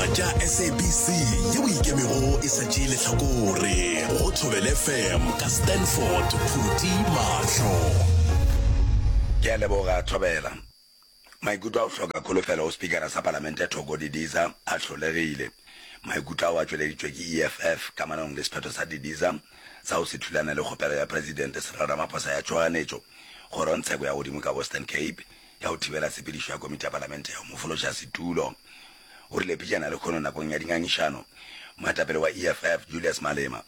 Ditaba tša SABC yeo e ikemego e sa tšee lehlakore go Thobela FM ka Stanford Phuti Mahlo. Ke a leboga Thobela. Maikutlo a go hloka kholofelo go Spikara sa Palamente Thoko Didiza a hlolegile. Maikutlo ao a tšweleditšwe ke EFF kamanong le sephetho sa Didiza sa go se thulane le kgopelo ya Presidente Cyril Ramaphosa ya tšhoganetšo kgorongtsheko ya godimo ka Western Cape ya go thibela tshepedišo ya komiti ya palamente ya go mo fološa setulo. O rile pejana lehono nakong ya dingangišano, moetapele wa EFF Julius Malema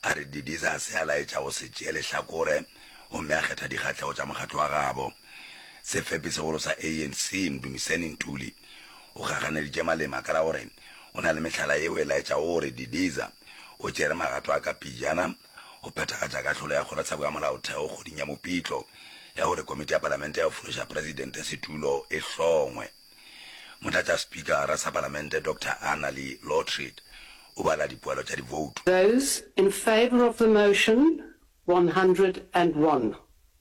a re Didiza a se a laetša go se tšee lehlakore gomme a kgetha dikgahlego tša mokgatlo wa gabo. Sefepi-segolo sa ANC Mdumiseni Ntuli o gaganeditše Malema ka la gore o na le mehlala yeo e laetšago gore Didiza o tšere magato a ka pejana go phethagatša kahlolo ya Kgorotsheko ya Molaotheo kgweding ya Mopitlo ya gore Komiti ya Palamente ya go Fološa Presidente setulo e hlongwe. Motlatšaspikara sa Palamente Doctor Annalie Lotriet o bala dipoelo tša divoutu. Those in favour of the motion, 101.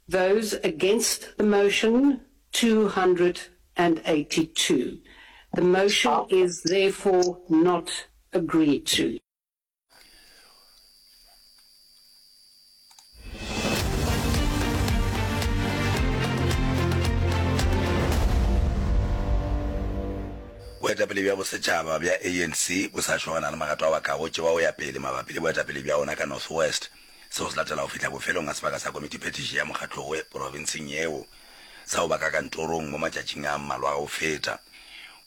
Those against the motion, 282. The motion is therefore not agreed to. Boetapele bja bosetšhaba bja ANC bo sa šogana le magato ao a kago tšewa go ya pele mabapi le boetapele bja ona ka North West. Seo se latela go fihla bofelong ga sebaka sa komitiphethiši ya mokgatlo wo profenseng yeo sa go ba ka kantorong mo matšatšing a mmalwa a go feta.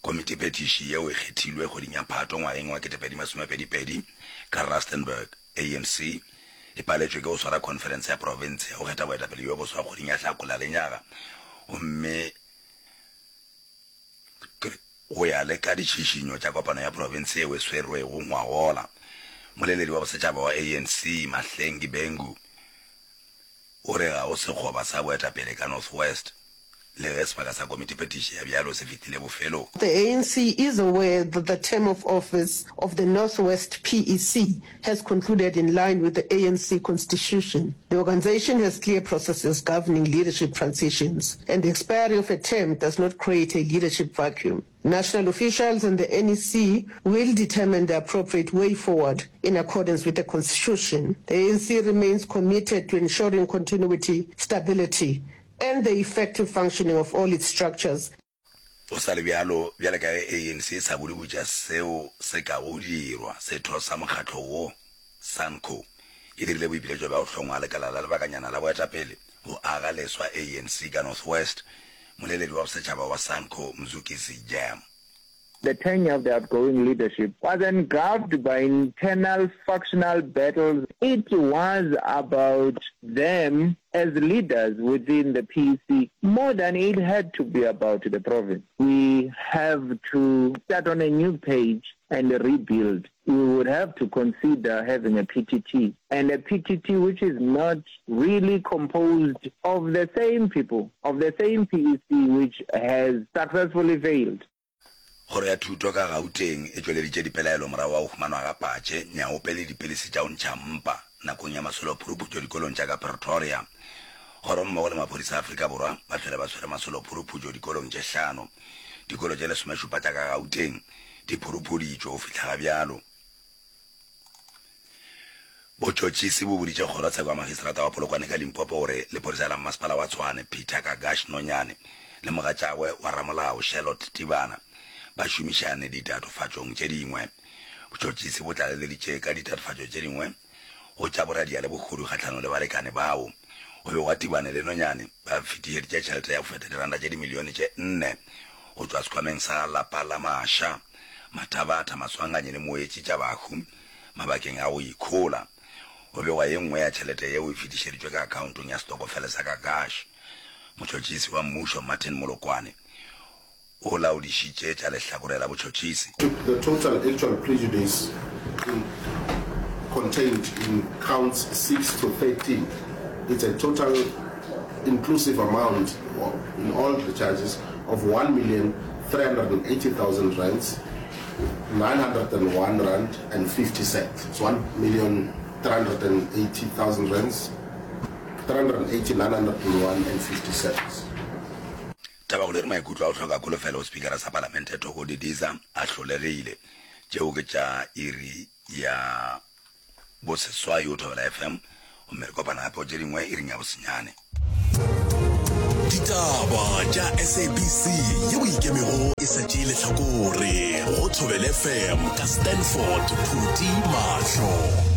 Komitiphethiši yeo e kgethilwe kgweding ya Phato ngwageng wa 2022 ka Rustenburg. ANC e paletšwe ke go swara khonferense ya profense ya go kgetha boetapele bjo boswa kgweding ya Hlakola lenyaga gomme Go ya le ka ditšhišinyo tša kopano ya profense yeo e swerwego ngwagola, moleledi wa bosetšhaba wa ANC, Mahlengi Bhengu, o re ga go sekgoba sa boetapele ka North West le ge sebaka sa komitiphethiši ya bjalo se fetile bofelong. The ANC is aware that the term of office of the North West PEC has concluded in line with the ANC constitution. The organisation has clear processes governing leadership transitions, and the expiry of a term does not create a leadership vacuum. National officials and the NEC will determine the appropriate way forward in accordance with the constitution. The ANC remains committed to ensuring continuity, stability, and the effective functioning of all its structures. Go sa le bjalo, bjale ka ge ANC e sa bodibotša seo se kago dirwa, setho sa mokgatlo wo, SANCO, e dirile boipiletšo bja go hlongwa lekala la lebakanyana la boetapele go aga leswa ANC ka North West. Moleledi wa bosetšhaba wa SANCO, Mzukisi Jam. The tenure of the outgoing leadership was engulfed by internal factional battles. It was about them as leaders within the PEC more than it had to be about the province. We have to start on a new page and rebuild. We would have to consider having a PTT, and a PTT which is not really composed of the same people, of the same PEC which has successfully failed. Kgoro ya Thuto ka Gauteng e tšweleditše dipelaelo morago ga go humanwa ga patše, nyaope le dipilisi tša go ntšha mpa nakong ya masolo-phuruphutšo dikolong tša ka Pretoria. Kgoro mmogo le maphodisa a Afrika Borwa ba hlwele ba swere masolo-phuruphutšo dikolong tše hlano. Dikolo tše lesomešupa tša ka Gauteng di phuruphuditšwe go fihla ga bjalo. Botšhotšhisi bo boditše kgorotsheko ya magistrata wa Polokwane ka Limpopo gore lephodisa la mmasepala wa Tshwane, Peter Kagash Nonyane le mogatšagwe wa ramolao Charlotte Tibana ba šomišane ditatofatšong tše dingwe. Botšhotšhisi bo tlaleleditše ka ditatofatšo tše dingwe go tša boradia le bohodu kgahlanong le balekane bao. Go begwa Tibane le Nonyane ba fetišeditše tšhelete ya go feta diranta tše dimilione tše nne go tšwa sekhwameng sa lapa la Masha, Mathabatha, Maswanganyi le Moetši tša bahu mabakeng a go ikhola. Go begwa ye nngwe ya tšhelete yeo e fetišeditšwe ka akhaontong ya setokofele sa Kakash. Motšhotšhisi wa mmušo Martin Molokwane o laodišitše tša lehlakore la botšhotšhisi. The total actual prejudice in contained in counts 6 to 13 it's a total inclusive amount in all the charges of 1,380,000 rands 901 rand and 50 cents. It's 1,380,000 rands, 380, 901 and 50 cents. Tabakgolo e re maikutlo a go hloka kholofelo go Spikara sa Palamente Thoko Didiza a hlolegile. Tšeo ke tša iri ya boseswai o Thobela FM, gomme re kopana gape go tše dingwe iring ya bosenyane. Ditaba tša SABC yeo e ikemego e sa tšee lehlakore go Thobela FM ka Stanford Phuti Mahlo.